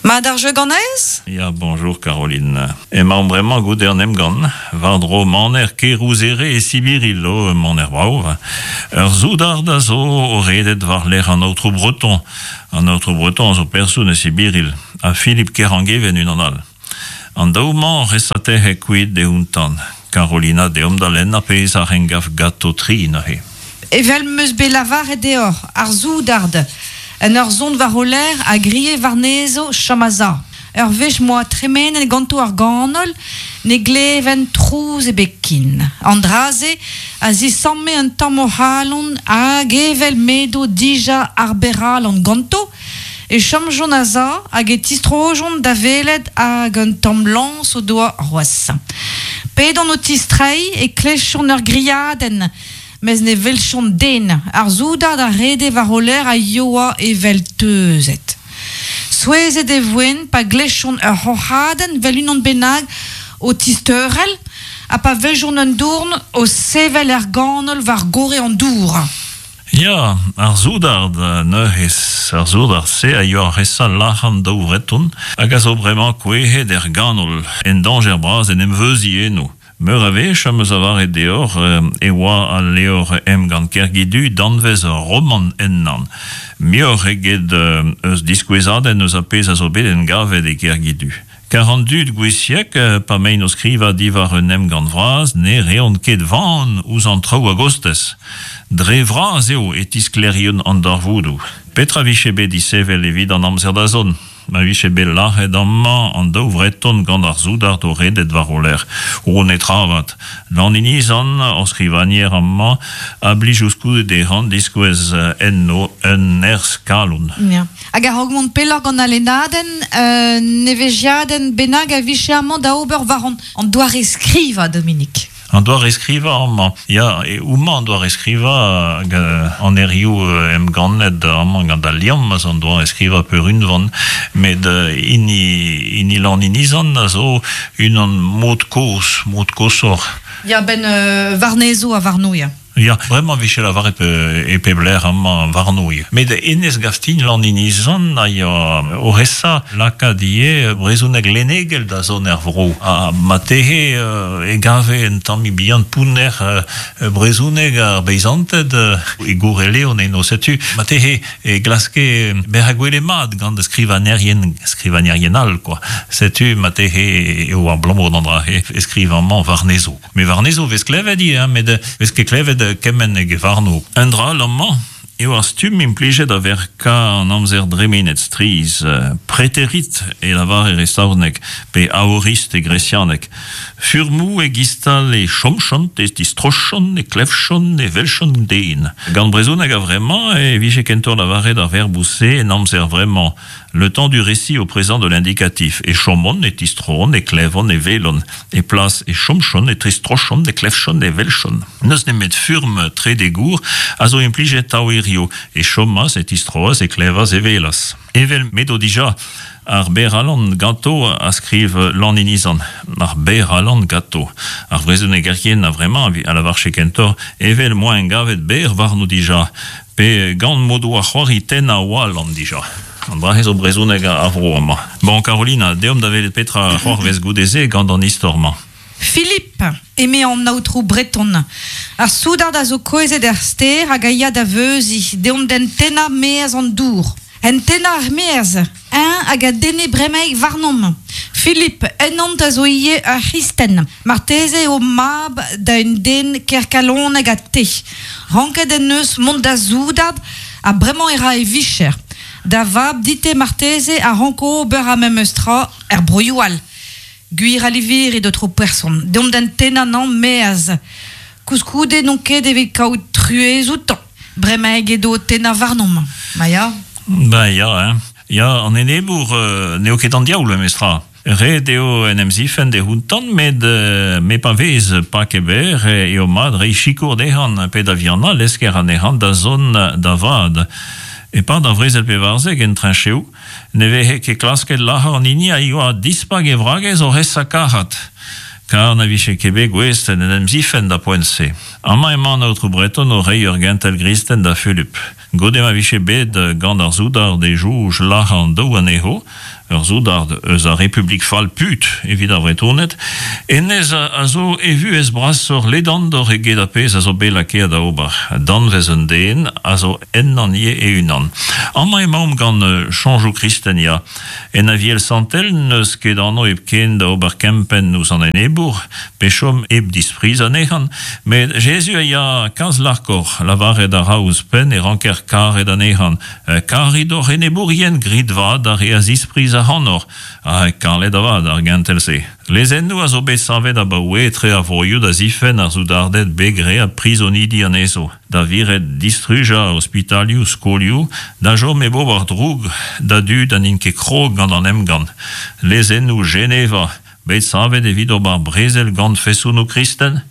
Mat ar jeu ganez? Ya, bonjour Caroline. Emaomp bremañ goude an emgann, war-dro maner Kerouzere e Sibiril, o maner brav. Ur soudard a zo o redet war-lerc'h an Aotrou Breton. An Aotrou Breton a zo person e Sibiril, ha Philippe Kerangeven unan all. An daou-mañ resatec'he kuit deountan. Carolina, deomp da lenn ar pezh a rengav gato tri neuze. Evel 'm eus bet lavaret deoc'h, ar soudard, en ur zont war o lerc'h, a grie warnezho chom a-sav. Ur wech m'oa tremenet ganto ar ganol, ne glevent trouz ebet ken. An dra-se a zisamme un tamm o c'halon hag evel m'edo dija ar berr-alan ganto, e chomjont a-sav hag e tistrojont da welet hag un tamm lañs o doa c'hoazh. P'edont o tistreiñ e klevjont ur griadenn, Mes ne welchont den, ar soudard a rede war o lerc'h a yoa evel teuzet. Souezhet e voent pa glevjont ur c'hoc'hadenn 'vel unan bennak o tisteurel ha pa weljont un dourn o sevel er ganol war gorre an dour. Ya, ar soudard neuze, ar soudard-se a yoa resa lac'han daou Vreton hag a zo bremañ kouezhet er ganol, en dañjer bras en em veuziñ eno. Meur a wech am eus lavaret deoc'h e oa al levr Emgann Kergidu danvez ur romant ennañ, muioc'h eget eus diskouezadenn eus ar pezh a zo bet engavet e Kergidu. Kar an dud gouiziek, pa 'maint o skrivañ diwar un emgann vras, ne reont ket van ouzh an traoù a-gostez. Dre vras eo e tisklêriont an darvoudoù. Petra 'vije bet disheñvel evit an amzer da zont? Ma vije bet lazhet amañ an daou Vreton gant ar soudard o redet war o lerc'h. O netra avat. Lan Inizan, hor skrivagner amañ, a blij ouzhkoude dezhañ diskouez enno un nerzh kalon. Ya. Hag a-raok mont pelloc'h gant al lennadenn, un evezhiadenn bennak a vije amañ da ober war an doare-skrivañ, Dominique. An doare-skrivañ amañ, ya, homañ an doare-skrivañ hag an erioù emgannet amañ gant al liamm a zo an doare-skrivañ peurunvan, met hini, hini Lann-Inizan a zo unan mod kozh, mod koshoc'h. Ya, 'benn warnezho ha warno, ya. Ya, bremañ e vije lavaret e pep lec'h amañ warno ivez. Met hennezh Gastign Lann-Inizan a ya o esa lakaat ivez brezhoneg lennegel da zont er vro. Ha marteze e gave un tammig bihan pounner brezhoneg ar beizanted e Goureleon eno. Setu marteze e glaske bezañ gwelet mat gant skrivagnerien, skrivagnerien all kwa. Setu marteze eo abalamour d'an dra-se e skriv amañ warnezho. Met warnezho 'vez klevet ivez, hein, met 'vez ket klevet kement eget warno. Un dra all amañ eo ar stumm implijet da verkañ an amzer dremenet strizh. Preterit e lavarer e saozneg, pe aorist e gresianeg. Furmoù e-giz-tal e chomchont, e tistrochont, e klevchont, e welchont den. Gant brezhoneg a-vremañ e vije kentoc'h lavaret ar verboù-se en amzer vremañ. Le temps du récit au présent de l'indicatif e chomont, e tistroont, e klevont, e welont, e plas e chomchont, e tistrochont, e klevchont, e welchont. N'eus nemet furm trede gour a zo implijet tav hiziv, e chomas, e tistroas, e klevas, e welas. Evel m'edo dija ar berr-alan ganto a skriv Lan Inizan, ar berr-alan ganto. Ar vrezhonegerien a-vremañ a lavarche kentoc'h evel m'oa engavet berr warno dija, Pe gant m'o doa c'hoari tennañ oalan dija. An dra-se zo brezhoneg ar vro amañ. Bon, Carolina, deomp da welet petra a c'hoarvez goude-se gant an istor-mañ. Philippe, eme an aotrou Breton, ar soudard a zo kouezhet er stêr hag a ya da veuziñ, deomp d'hen tennañ 'maez an dour. Hen tennañ er-maez, eñ hag a denne bremaik warnomp. Philippe, ennont a zo ivez ur c'hristen. Marteze eo mab da un den ker kalonek ha te. Ranket en deus mont da soudard ha bremañ e ra e vicher. Da vab dit-te marteze a ranko ober ar memes tra er broioù all. Gwir a livirit, aotrou person, deomp d'hen tennañ 'nañ 'maez. Koulskoude n'on ket evit kaout truez outañ. Bremaik edo o tennañ warnomp, ma ya. Ben ya, hein. Ya, an enebour n'eo ket an diaoul memestra. Ret eo en em zifenn d'e c'hountan, met me pa vez paket berr eo mat reiñ sikour dezhañ pe da vihanañ lesker anezhañ da zont da vat. E-pad ar vrezel 14 en treñcheoù ne veze ket klasket lazhañ an hini a yoa dispak e wragez oc'h esa kac'hat, kar na vije ket bet gouest d'en em zifenn da poent-se. Amañ emañ an Aotrou Breton o reiñ ur gentel gristen da Fulup. Goude ma vije bet gant ar soudard e soñj lazhañ an daou anezho, ur soudard eus ar Republik fall put evit ar Vretoned, hennezh a zo e vuhez brasoc'h ledandoc'h eget ar pezh a zo bet lakaet da ober. Danvez un den a zo ennañ ivez e-unan. Amañ emaomp gant soñjoù kristen ya. En Aviel Santel n'eus ket anv hepken da ober kempenn ouzh an enebour, pe chom hep dispriz anezhañ, met Jezuz a ya kalz larkoc'h, lavaret a ra ouzhpenn e ranker karet anezhañ. Karit hoc'h enebourien, grit vat d'ar re a zispriz ac'hanoc'h. Ha kalet avat ar gentel-se. Lezennoù a zo bet savet abaoe etre ar vroioù da zifenn ar soudarded bet graet prizonidi anezho, da viret distrujañ ospitalioù, skolioù, da chom hep ober droug da dud ha n'int ket krog gant an emgann. Lezennoù Geneva, bet savet evit ober brezel gant fesonoù kristen?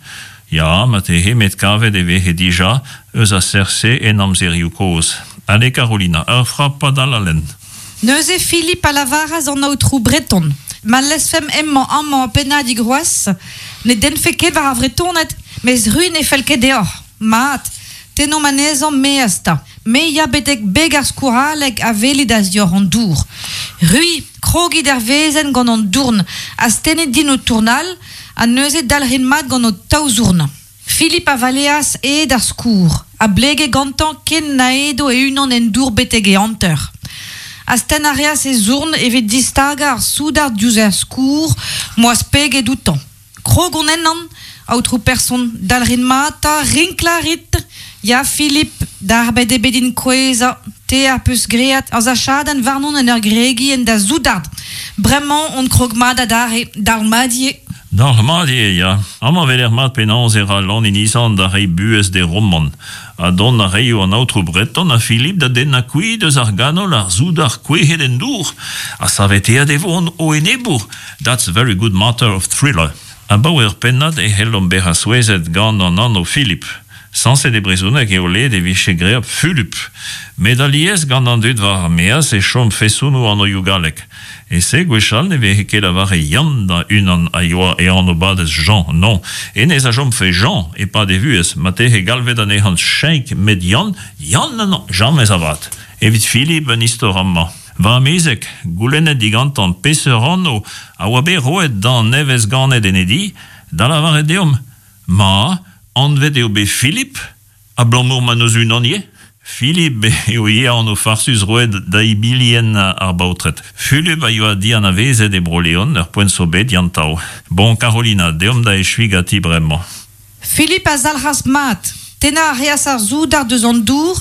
Ya, marteze, met kavet e veze dija eus a seurt-se en amzerioù kozh. Ale Carolina, ur frapad all a lenn. Neuze Philip a lavaras an aotrou Breton, Ma lezfemp hemañ amañ pennadig c'hoazh, ne dennfe ket war ar Vretoned, mes c'hwi ne fell ket deoc'h. Mat, tennomp anezhañ maez 'ta. Me ya betek beg ar skourhaleg a welit a-zioc'h an dour. C'hwi, krogit er wezenn gant an dourn, astennit din ho tourn all, ha neuze dalc'hit mat gant ho taou zourn. Philip a valeas aet ar skourr, a blege gantañ ken na edo e-unan en dour betek e hanter. Astenn a reas e zourn evit distagañ ar soudard diouzh ar skourr m'oa speget outañ. Krog on ennan, aotrou person, dalc'hit mat 'ta, rinklañ a rit. Ya, Philip, darbet eo bet din kouezhañ. Te az peus graet ur sachadenn warnon en ur gregiñ en da soudard. Bremañ on krog mat adarre, dalc'hmat ivez. Dalc'hmat eo, ya. Amañ 'weler mat penaos e ra Lan Inizan da reiñ buhez d'e romant. Ha dont a reio an aotrou Breton ha Philippe da dennañ kuit eus ar ganol ar soudard kouezhet en dour, ha saveteet e vo o enebour. That's a very good matter of thriller. Abaoe ur pennad e c'hellomp bezañ souezhet gant an anv Philippe. Sañset e brezhoneg eo led e vije graet Fulup. Met alies gant an dud war ar maez e chom fesonoù anvioù gallek. E-se gwechall ne veze ket lavaret Yann da unan a yoa e anv-badez Jean, non. Hennezh a chomfe Jean e-pad e vuhez, marteze galvet anezhañ Cheik met Yann, Yann non, james avat. Evit Philippe un istor amañ. Va amezeg, goulennet digantañ peseurt anv a oa bet roet d'an nevez-ganet en e di, da lavaret deomp Ma, anvet eo bet Philippe, abalamour ma n'eus unan ivez. Philippe eo ivez anv farsus roet da ibilien ar baotred. Fulup a yoa dianavezet e Bro-Leon ur poent zo bet diantav. Bon, Carolina, deomp da echuiñ ganti bremañ. Philippe a zalc'has mat. Tennañ a reas ar soudard eus an dour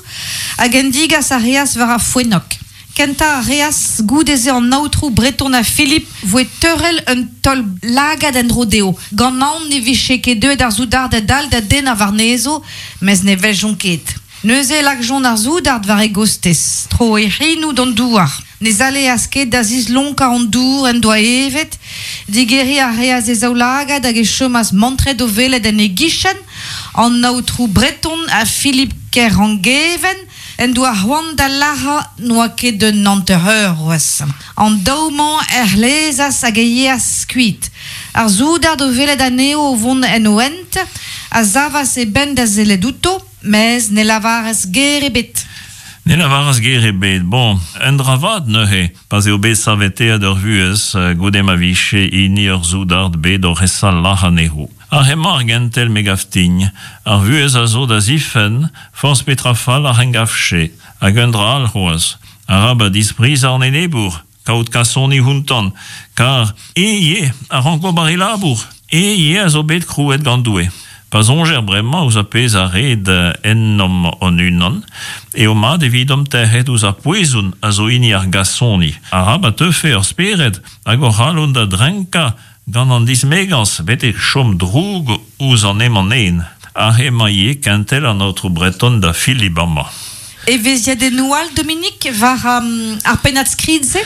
hag en digas a reas war ar foennog. Kentañ a reas goude-se an aotrou Breton ha Philippe voe teurel un taol lagad en-dro dezho, gant aon ne vije ket deuet ar soudarded all da dennañ warnezho, mes ne weljont ket. Neuze e lakjont ar soudard war e gostez, tro e c'henoù d'an douar. Ne zaleas ket da zislonkañ an dour en doa evet, digeriñ a reas e zaoulagad hag e chomas mantret o welet en e gichen an aotrou Breton ha Philippe Kerangeven, en doa c'hoant da lazhañ n'oa ket un hanter-eur c'hoazh. An daou-mañ er c'hlezas hag e yeas kuit. Ar soudard o welet anezho o vont en o hent a savas e benn da sellet outo, mes ne lavaras ger ebet. Ne lavaras ger ebet. Bon, un dra vat neuze, pa'z eo bet saveteet ur vuhez goude ma vije hini ur soudard bet oc'h esa lazhañ anezho. Ar hemañ ar gentel me gav din, ar vuhez a zo da zifenn, forzh petra fall a c'hengavche, hag un dra all c'hoazh, arabat disprizañ an enebour, kaout kasoni ountan, kar e ivez a rank ober e labour, e ivez a zo bet krouet gant Doue. Pa soñjer bremañ ouzh ar pezh a red ennomp hon-unan, eo mat evidomp tec'het ouzh ar poezon a zo hini ar gasoni. Arabat teufe hor spered hag hor c'halon da drenkañ Gant an dismegañs betek chom droug ouzh an emañ-nen. Aze emañ ivez kentel an aotrou Breton da Philippe amañ. Evezhiadennoù all, Dominique, war ar pennad-skrid-se?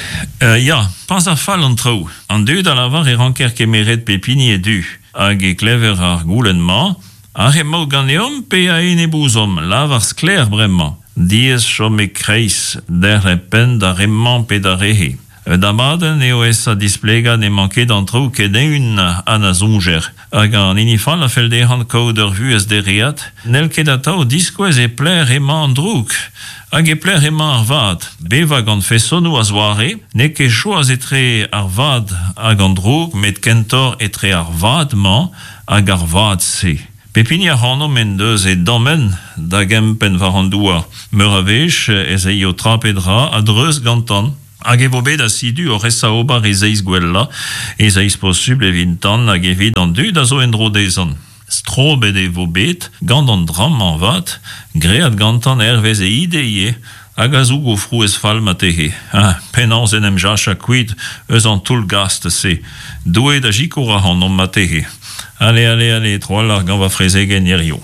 Ya, pas a fall an traoù. An dud a lavar e ranker kemeret pep hini e du. Hag e klever ar goulenn-mañ, Aze emaout ganeomp pe a-enep ouzhomp? Lavar sklaer bremañ. Diaes chom e-kreiz, derc'hel penn d'ar re-mañ pe d'ar re-se. Un abadenn eo esa displegañ n'emañ ket an traoù ken eeun ha na soñjer. Hag an hini fall a fell dezhañ kaout ur vuhez dereat n'hell ket atav diskouez e pelec'h emañ an droug hag e pelec'h emañ ar vad. Bevañ gant fesonoù a-zoare n'eo ket choaz etre ar vad hag an droug met kentoc'h etre ar vad-mañ hag ar vad-se. Pep hini ac'hanomp en deus e dammenn da gempenn war an douar. Meur a wech ez eio tra pe dra a-dreuz gantan. Hag e vo bet asidu oc'h esa ober e zeiz gwellañ, e zeiz posubl evitan hag evit an dud a zo en-dro dezhan. Strobet e vo bet gant an dra-mañ 'vat, graet gantan hervez e ide ivez, hag a zougo frouezh fall marteze. Ha penaos en em jachañ kuit eus an toull-gast-se? Doue da sikour ac'hanomp marteze. Ale, ale, ale, tro-walc'h gant va frezegenn hiziv.